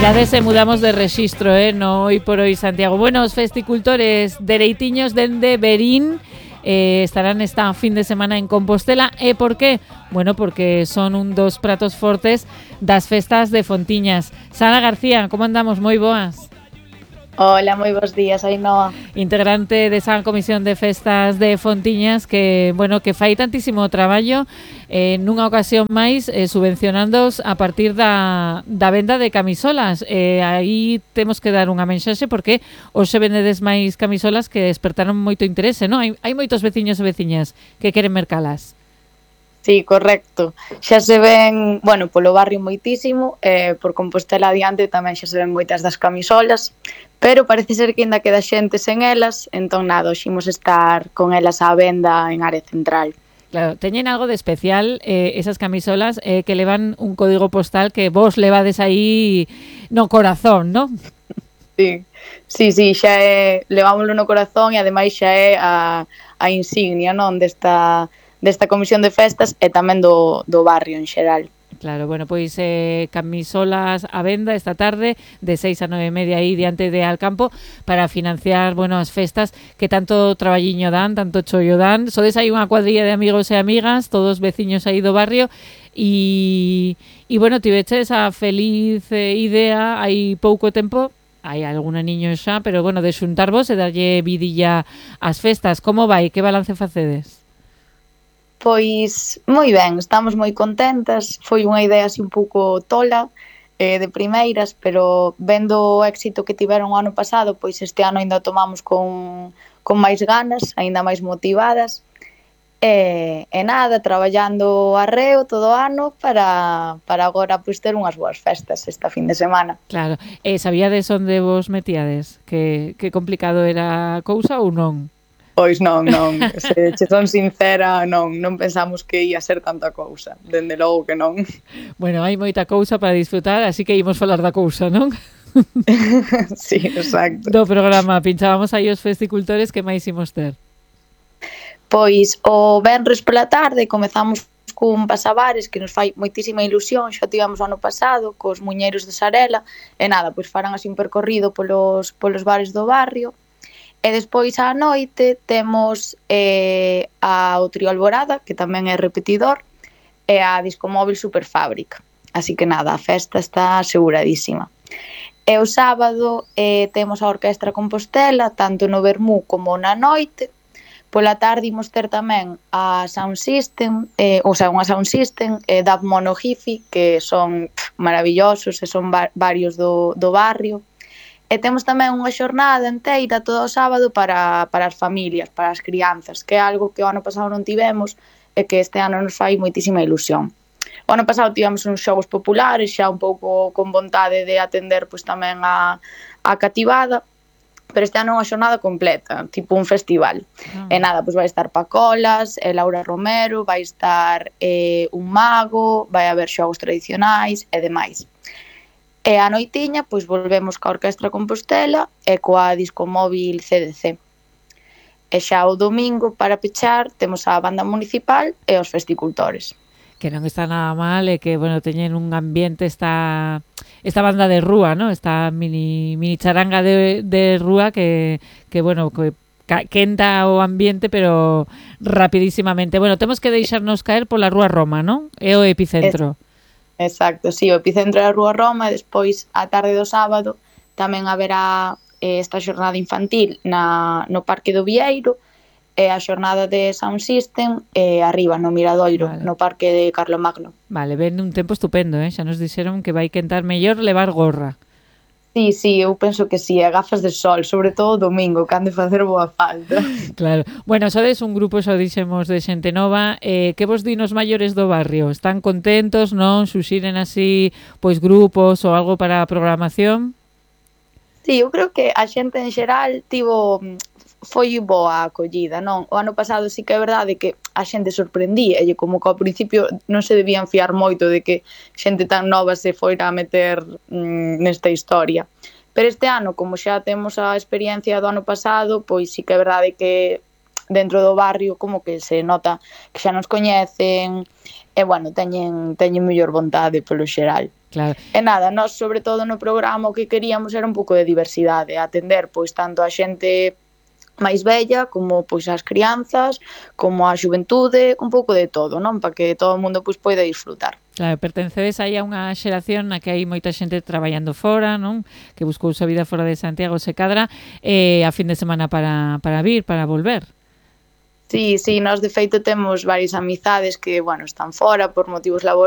Mirades e mudamos de rexistro, no Hoy por Hoy Santiago. Bueno, os festicultores dereitiños dende Verín estarán esta fin de semana en Compostela. E por qué? Bueno, porque son un dos pratos fortes das festas de Fontiñas. Sara García, como andamos? Moi boas. Hola, moi bons días, Ainhoa. Integrante desa comisión de festas de Fontiñas que, bueno, que fai tantísimo traballo nunha ocasión máis subvencionándoos a partir da venda de camisolas. Aí temos que dar unha mensaxe porque hoxe vendedes máis camisolas que despertaron moito interese, non? Hai moitos veciños e veciñas que queren mercalas. Sí, correcto. Xa se ven, bueno, polo barrio moitísimo, por Compostela adiante tamén xa se ven moitas das camisolas, pero parece ser que ainda queda xente sen elas, entón nada, ximos estar con elas á venda en área central. Claro, teñen algo de especial esas camisolas que levan un código postal que vos levades aí no corazón, non? Sí, xa é, levámoslo no corazón e ademais xa é a insignia, non, desta comisión de festas e tamén do barrio en xeral. Claro, bueno, pois camisolas a venda esta tarde de 6 a 9:30 aí diante de Alcampo para financiar, bueno, as festas que tanto traballiño dan, tanto chollo dan. Sodes aí unha cuadrilla de amigos e amigas, todos veciños aí do barrio e bueno, tiveches a feliz idea hai pouco tempo. Hai algún niño xa, pero bueno, de xuntarvos e darlle vidilla ás festas. Como vai? Que balance facedes? Pois moi ben, estamos moi contentas. Foi unha idea así un pouco tola de primeiras, pero vendo o éxito que tiveron o ano pasado, pois este ano ainda tomamos con máis ganas, ainda máis motivadas. E nada, traballando arreo todo o ano para agora pois ter unhas boas festas esta fin de semana. Claro, sabíades onde vos metíades? Que complicado era a cousa ou non? Pois non, se che son sincera, non pensamos que ia ser tanta cousa, dende logo que non. Bueno, hai moita cousa para disfrutar, así que imos falar da cousa, non? Sí, exacto. Do programa, pinchábamos aí os festicultores que máis imos ter. Pois o venres pola tarde comezamos cun pasabares que nos fai moitísima ilusión, xa tivemos o ano pasado cos muñeiros de Sarela, e nada, pois farán así un percorrido polos bares do barrio. E despois á noite temos o Trío Alborada, que tamén é repetidor, e a Discomóvil Superfábrica. Así que nada, a festa está aseguradísima. E o sábado temos a Orquestra Compostela, tanto no Vermú como na noite. Pola tarde imos ter tamén a Sound System, unha Sound System da Mono Hifi, que son maravillosos e son varios do barrio. E temos tamén unha xornada enteira todo o sábado para as familias, para as crianzas, que é algo que o ano pasado non tivemos e que este ano nos fai moitísima ilusión. O ano pasado tivemos uns xogos populares, xa un pouco con vontade de atender pois tamén a cativada, pero este ano é unha xornada completa, tipo un festival. E nada, pois vai estar Pacolas, Laura Romero, vai estar un mago, vai haber xogos tradicionais e demais. E a noitiña, pois volvemos coa Orquestra Compostela e coa Discomóvil CDC. E xa o domingo, para pechar, temos a banda municipal e os festicultores. Que non está nada mal e que, bueno, teñen un ambiente esta banda de rúa, ¿no? Esta mini charanga de rúa que bueno, que quenta o ambiente, pero rapidísimamente. Bueno, temos que deixarnos caer pola Rúa Roma, ¿no? É o epicentro. Exacto, sí, o epicentro é a Rúa Roma e despois a tarde do sábado tamén haberá esta xornada infantil no Parque do Vieiro e a xornada de Sound System arriba no Miradoiro, vale, no Parque de Carlomagno. Vale, ven un tempo estupendo, xa nos dixeron que vai quentar mellor levar gorra. Sí, eu penso que sí, e gafas de sol, sobre todo domingo, que han de facer boa falta. Claro. Bueno, sodes un grupo, xa dixemos, de xente nova. Que vos din os maiores do barrio? Están contentos, non? Suxiren así, pois, grupos ou algo para a programación? Sí, eu creo que a xente en xeral foi boa a acollida, non? O ano pasado sí que é verdade que a xente sorprendía, e como que ao principio non se debían fiar moito de que xente tan nova se foira a meter nesta historia. Pero este ano, como xa temos a experiencia do ano pasado, pois sí que é verdade que dentro do barrio como que se nota que xa nos coñecen, e bueno, teñen mellor vontade polo xeral. Claro. E nada, nós sobre todo no programa o que queríamos era un pouco de diversidade, atender pois tanto a xente máis vella, como pois as crianzas, como a xuventude, un pouco de todo, non? Para que todo o mundo pois poida disfrutar. Claro, pertencedes aí a unha xeración na que hai moita xente traballando fora, non? Que buscou a vida fora de Santiago, se cadra, a fin de semana para vir, para volver. Sí, nós de feito temos varias amizades que, bueno, están fora por motivos laborais,